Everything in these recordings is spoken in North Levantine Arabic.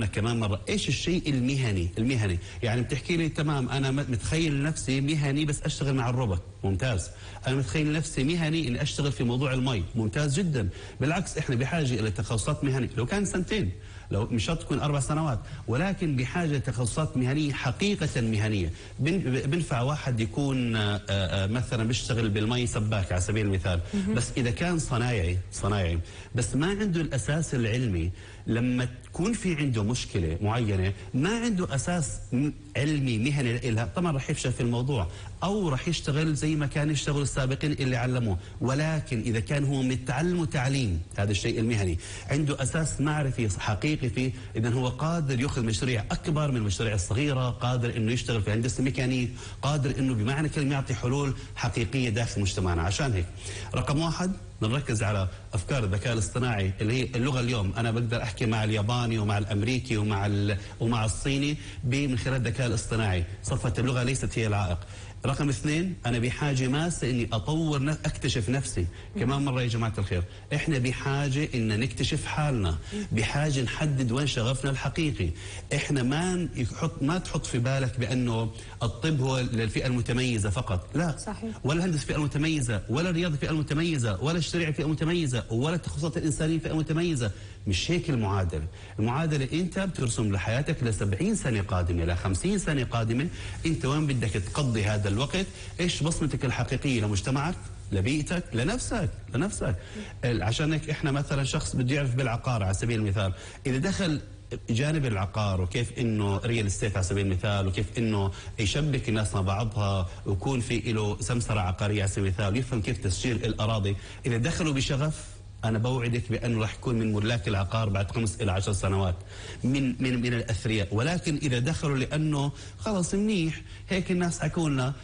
كمان مرة ايش الشيء المهني يعني بتحكي لي تمام انا متخيل نفسي مهني بس اشتغل مع الروبوت ممتاز، انا متخيل نفسي مهني اني اشتغل في موضوع المي ممتاز جدا، بالعكس احنا بحاجة الى تخصصات مهنية لو كان سنتين، لو مش شرط تكون 4 سنوات، ولكن بحاجة لتخصصات مهنية حقيقة مهنية. بنفع واحد يكون مثلا بيشتغل بالمي سباك على سبيل المثال، بس إذا كان صنايعي بس ما عنده الأساس العلمي، لما تكون في عنده مشكلة معينة ما عنده أساس علمي مهني لها، طبعا رح يفشل في الموضوع أو رح يشتغل زي ما كان يشتغل السابقين اللي علموه. ولكن إذا كان هو متعلم تعليم هذا الشيء المهني، عنده أساس معرفي حقيقي فيه، إذن هو قادر يأخذ مشاريع أكبر من المشاريع الصغيرة، قادر إنه يشتغل في هندسة ميكانيك، قادر إنه بمعنى كلمة يعطي حلول حقيقية داخل مجتمعنا. عشان هيك رقم 1 بنركز على أفكار الذكاء الاصطناعي اللي هي اللغة. اليوم أنا بقدر أحكي مع الياباني ومع الأمريكي ومع الصيني من خلال الذكاء الاصطناعي، صفة اللغة ليست هي العائق. رقم 2 أنا بحاجة ماسة إني أطور أكتشف نفسي. كمان مرة يا جماعة الخير إحنا بحاجة إن نكتشف حالنا، بحاجة نحدد وين شغفنا الحقيقي. إحنا ما تحط في بالك بأنه الطب هو للفئة المتميزة فقط، لا صحيح. ولا الهندسة فئة المتميزة، ولا الرياضة فئة المتميزة، ولا الشريعة فئة متميزة، ولا التخصصات الإنسانية فئة متميزة. مش هيك المعادلة أنت بترسم لحياتك ل70 سنة قادمة، ل50 سنة قادمة، أنت وين بدك تقضي هذا الوقت؟ إيش بصمتك الحقيقية لمجتمعك، لبيئتك، لنفسك. عشان هيك إحنا مثلا شخص بده يعرف بالعقار على سبيل المثال، إذا دخل جانب العقار وكيف انه ريال استيت على سبيل المثال، وكيف انه يشبك الناس مع بعضها ويكون في له سمسره عقاريه على سبيل المثال، ويفهم كيف تسجيل الاراضي، اذا دخلوا بشغف انا بوعدك بانه راح يكون من ملاك العقار بعد 5 إلى 10 سنوات من الاثرياء. ولكن اذا دخلوا لانه خلص منيح هيك الناس حكوا لنا،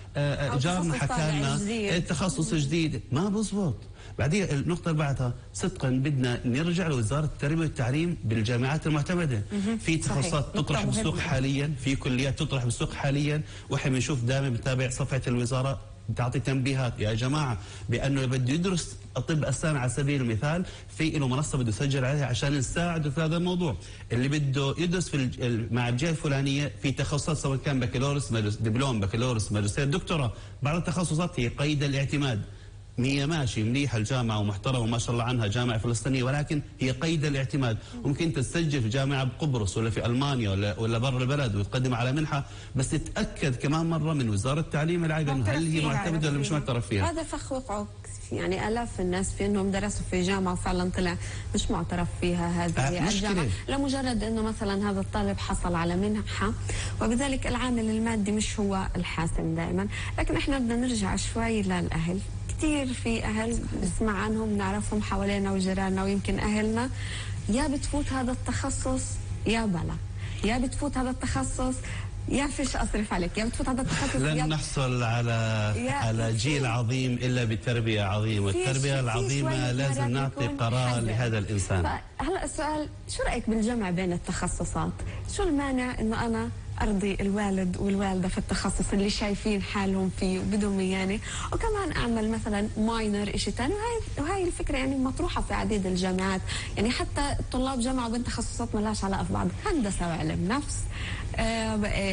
جارنا حكى لنا تخصص جديد، ما بزبط. بعدين النقطة اللي بعدها صدقا بدنا نرجع لوزارة التربية والتعليم بالجامعات المعتمدة. في تخصصات تطرح بالسوق حاليا، في كليات تطرح بالسوق حاليا، واحنا بنشوف دائما بنتابع صفحة الوزارة بتعطي تنبيهات يا جماعة بأنه بده يدرس الطب الأسنان على سبيل المثال في له منصة بده يسجل عليها عشان نساعده في هذا الموضوع. اللي بده يدرس في مع الجهة الفلانية في تخصصات سواء كان بكالوريوس دبلوم بكالوريوس ماجستير دكتوراه، بعض التخصصات هي قيد الاعتماد. هي ماشي مليحة الجامعة ومحترمة وما شاء الله عنها جامعة فلسطينية، ولكن هي قيد الاعتماد. ممكن تسجل في جامعة بقبرص ولا في ألمانيا ولا برا البلد وتقدم على منحة، بس تتأكد كمان مرة من وزارة التعليم العالي إنه هل هي معتمدة ولا مش معترف فيها. هذا فخ وقعوا يعني آلاف الناس في أنهم درسوا في جامعة وفعلا طلع مش معترف فيها هذه الجامعة، لمجرد أنه مثلا هذا الطالب حصل على منحة، وبذلك العامل المادي مش هو الحاسم دائما. لكن احنا بدنا نرجع شوي للأهل. كثير في أهل نسمع عنهم نعرفهم حوالينا وجيراننا ويمكن أهلنا، يا بتفوت هذا التخصص يا بلا، يا بتفوت هذا التخصص يا فيش أصرف عليك، يا بتفوت هذا التخصص لن نحصل على جيل عظيم إلا بتربية عظيمة، والتربية العظيمة لازم نعطي قرار لهذا الإنسان. هلا السؤال، شو رأيك بالجمع بين التخصصات؟ شو المانع إنه أنا أرضي الوالد والوالدة في التخصص اللي شايفين حالهم فيه وبدهم يعني، وكمان أعمل مثلا ماينر إشي تاني. وهاي الفكرة يعني مطروحة في عديد الجامعات، يعني حتى الطلاب جمعوا بين تخصصات ما لهاش علاقة في بعض، هندسة وعلم نفس،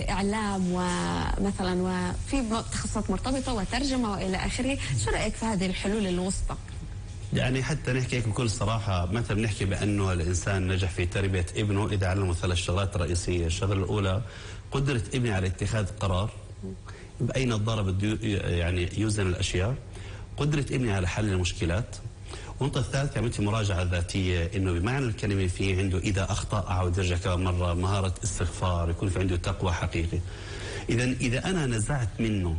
إعلام ومثلا وفي تخصصات مرتبطة وترجمة وإلى آخره. شو رأيك في هذه الحلول الوسطى؟ يعني حتى نحكي بكل صراحة، مثلا بنحكي بأنه الإنسان نجح في تربية ابنه إذا علمه 3 شغلات رئيسية. الشغلة الأولى قدرة ابني على اتخاذ قرار، بأي نظارة بده يعني يوزن الأشياء، قدرة ابني على حل المشكلات. والنقطة الثالثة عملت مراجعة ذاتية، إنه بمعنى الكلمة في عنده إذا أخطأ أعود يرجع كمان مرة، مهارة استغفار، يكون في عنده تقوى حقيقي. إذا أنا نزعت منه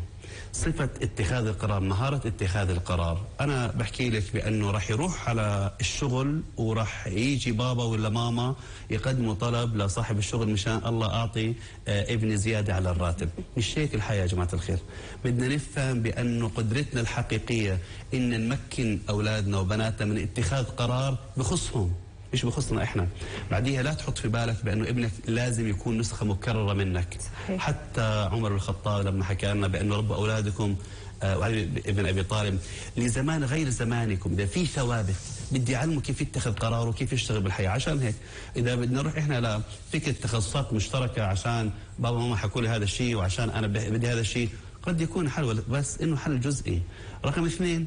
صفة اتخاذ القرار، مهارة اتخاذ القرار، أنا بحكي لك بأنه رح يروح على الشغل ورح يجي بابا ولا ماما يقدموا طلب لصاحب الشغل مشان الله أعطي ابني زيادة على الراتب. مش هيك الحياة يا جماعة الخير. بدنا نفهم بأنه قدرتنا الحقيقية إن نمكن أولادنا وبناتنا من اتخاذ قرار بخصهم، مش بخصنا احنا. بعديها لا تحط في بالك بانه ابنك لازم يكون نسخه مكرره منك. صحيح. حتى عمر بن الخطاب لما حكى لنا بانه ربوا اولادكم وعلي ابن ابي طالب لزمان غير زمانكم، اذا في ثوابت بدي اعلمه كيف يتخذ قرار وكيف يشتغل بالحياه. عشان هيك اذا بدنا نروح احنا لفكره تخصصات مشتركه عشان بابا وماما حكوا لي هذا الشيء وعشان انا بدي هذا الشيء، قد يكون حل بس انه حل جزئي. رقم 2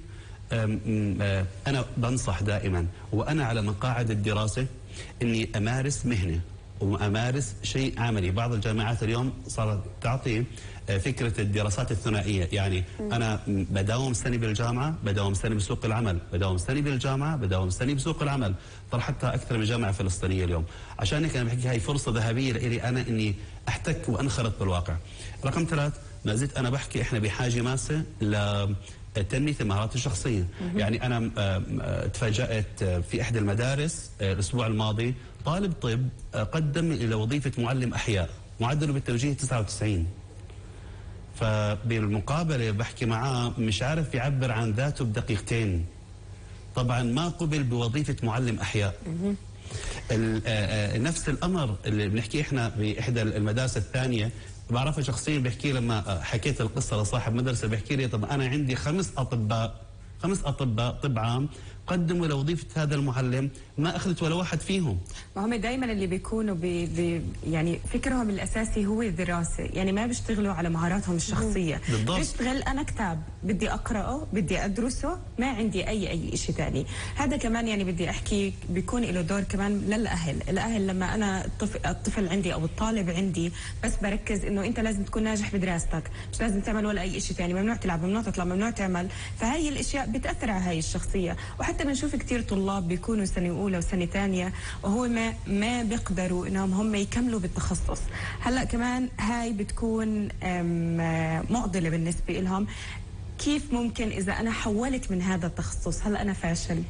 انا بنصح دائما وانا على مقاعد الدراسه اني امارس مهنه وامارس شيء عملي. بعض الجامعات اليوم صارت تعطي فكره الدراسات الثنائيه، يعني انا بداوم سنه بالجامعه، بداوم سنه بسوق العمل، بداوم سنه بالجامعه، بداوم سنه بسوق العمل. طرح حتى اكثر من جامعه فلسطينيه اليوم. عشان هيك انا بحكي هاي فرصه ذهبيه لي انا اني احتك وانخرط بالواقع. رقم 3 ما زلت انا بحكي احنا بحاجه ماسه لتنميه المهارات الشخصيه. يعني انا تفاجات في احدى المدارس الاسبوع الماضي طالب طب قدم الى وظيفه معلم احياء، معدله بالتوجيه 99. فبالمقابله بحكي معاه مش عارف يعبر عن ذاته بدقيقتين. طبعا ما قبل بوظيفه معلم احياء. نفس الامر اللي بنحكي احنا باحدى المدارس الثانيه بعرفها شخصيا، بحكي لما حكيت القصه لصاحب مدرسه بحكي لي طب انا عندي 5 اطباء طب عام قدموا لوظيفه هذا المعلم ما اخذت ولا واحد فيهم. ما هم دائما اللي بيكونوا يعني فكرهم الاساسي هو الدراسه، يعني ما بيشتغلوا على مهاراتهم الشخصيه. بالضبط. بيشتغل انا كتاب بدي اقراه بدي ادرسه، ما عندي اي شيء ثاني. هذا كمان يعني بدي احكي بيكون له دور كمان الاهل لما انا الطفل عندي او الطالب عندي بس بركز انه انت لازم تكون ناجح بدراستك، مش لازم تعمل ولا اي شيء ثاني، ممنوع تلعب، ممنوع تطلع، ممنوع تعمل. فهي الاشياء بتاثر على هاي الشخصيه. وحتى بنشوف كثير طلاب بيكونوا سنه اولى وسنه ثانيه وهو ما بيقدروا انهم هم يكملوا بالتخصص. هلا كمان هاي بتكون معضله بالنسبه لهم. كيف ممكن اذا انا حولت من هذا التخصص هلا انا فاشل؟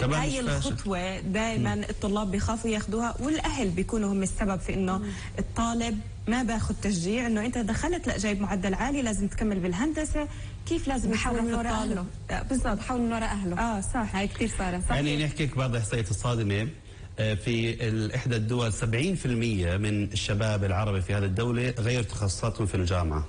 هاي الخطوه دائما الطلاب بيخافوا ياخذوها، والاهل بيكونوا هم السبب في انه الطالب ما باخذ تشجيع انه انت دخلت لا جايب معدل عالي لازم تكمل بالهندسه. كيف لازم يحاول من وراء اهله؟ بالضبط، حاول من وراء اهله. صح، هاي كثير صارت. يعني نحكي لك بعض الاحصائيات الصادمه. في احدى الدول 70% من الشباب العربي في هذه الدوله غير تخصصاتهم في الجامعه.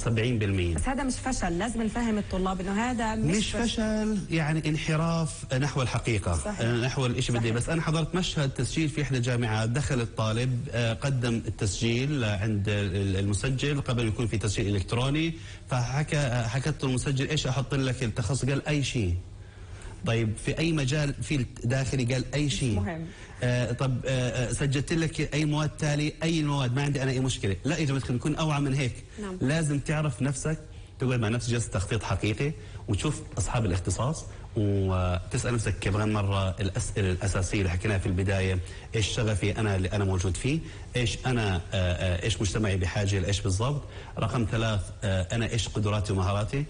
70%. بس هذا مش فشل، لازم نفهم الطلاب انه هذا مش فشل، يعني انحراف نحو الحقيقه. صحيح. نحو الشيء بدي. بس انا حضرت مشهد تسجيل في احدى الجامعات، دخل الطالب قدم التسجيل عند المسجل قبل يكون في تسجيل الكتروني، حكت له المسجل ايش احط لك التخصص؟ قال اي شيء. طيب في اي مجال في الداخلي؟ قال اي شيء. مهم. طب سجلت لك اي مواد تالي؟ اي المواد، ما عندي انا اي مشكله. لا يا جماعه نكون اوعى من هيك. نعم. لازم تعرف نفسك، تقعد مع نفسك جلسه تخطيط حقيقي وتشوف اصحاب الاختصاص وتسال نفسك كمان مره الاسئله الاساسيه اللي حكيناها في البدايه. ايش شغفي انا اللي انا موجود فيه؟ ايش انا ايش مجتمعي بحاجه لايش بالضبط؟ رقم 3 انا ايش قدراتي ومهاراتي؟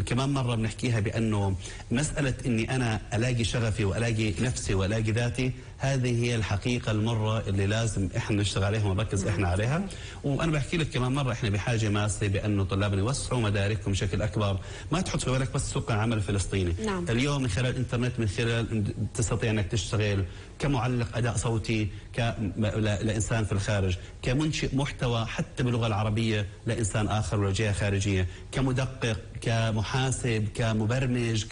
كمان مرة بنحكيها بأنه مسألة أني أنا ألاقي شغفي وألاقي نفسي وألاقي ذاتي، هذه هي الحقيقة المرة اللي لازم إحنا نشتغل عليها ونركز إحنا عليها. وأنا بحكي لك كمان مرة إحنا بحاجة ماسة بأنه طلابنا يوسعوا مداركهم بشكل أكبر. ما تحط في بالك بس سوق العمل الفلسطيني. نعم. اليوم من خلال الإنترنت، من خلال تستطيع أنك تشتغل كمعلق أداء صوتي لإنسان في الخارج، كمنشئ محتوى حتى باللغة العربية لإنسان آخر ولا جهة خارجية، كمدقق، كمحاسب، كمبرمج،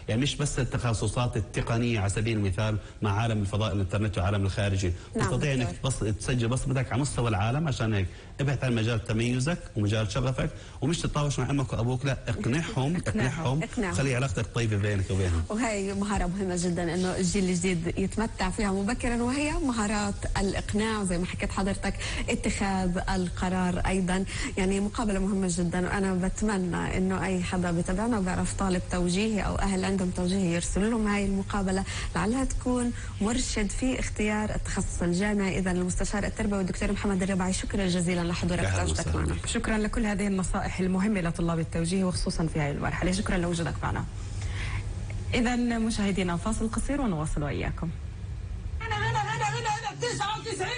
يعني مش بس التخصصات التقنية على سبيل المثال مع عالم الفضاء الإنترنت وعالم الخارجي. نعم. تستطيع أنك تسجل بصمتك على مستوى العالم. عشان هيك ابحث عن مجال تميزك ومجال شغفك، ومش تتطاوش مع امك وابوك، لا اقنعهم خلي علاقتك طيبه بينك وبينهم. وهي مهاره مهمه جدا انه الجيل الجديد يتمتع فيها مبكرا، وهي مهارات الاقناع وزي ما حكيت حضرتك اتخاذ القرار ايضا. يعني مقابله مهمه جدا، وانا بتمنى انه اي حدا بتابعنا وبيعرف طالب توجيهي او اهل عندهم توجيهي يرسلوا لهم هاي المقابله لعلها تكون مرشد في اختيار التخصص الجامعي. اذا المستشار التربوي الدكتور محمد الرباعي، شكرا جزيلا لحضورك وتواجدك معنا. شكرا لكل هذه النصائح المهمة لطلاب التوجيه وخصوصا في هذه المرحلة. شكرا لوجودك معنا. إذا مشاهدينا فاصل قصير ونواصل وإياكم. هنا 99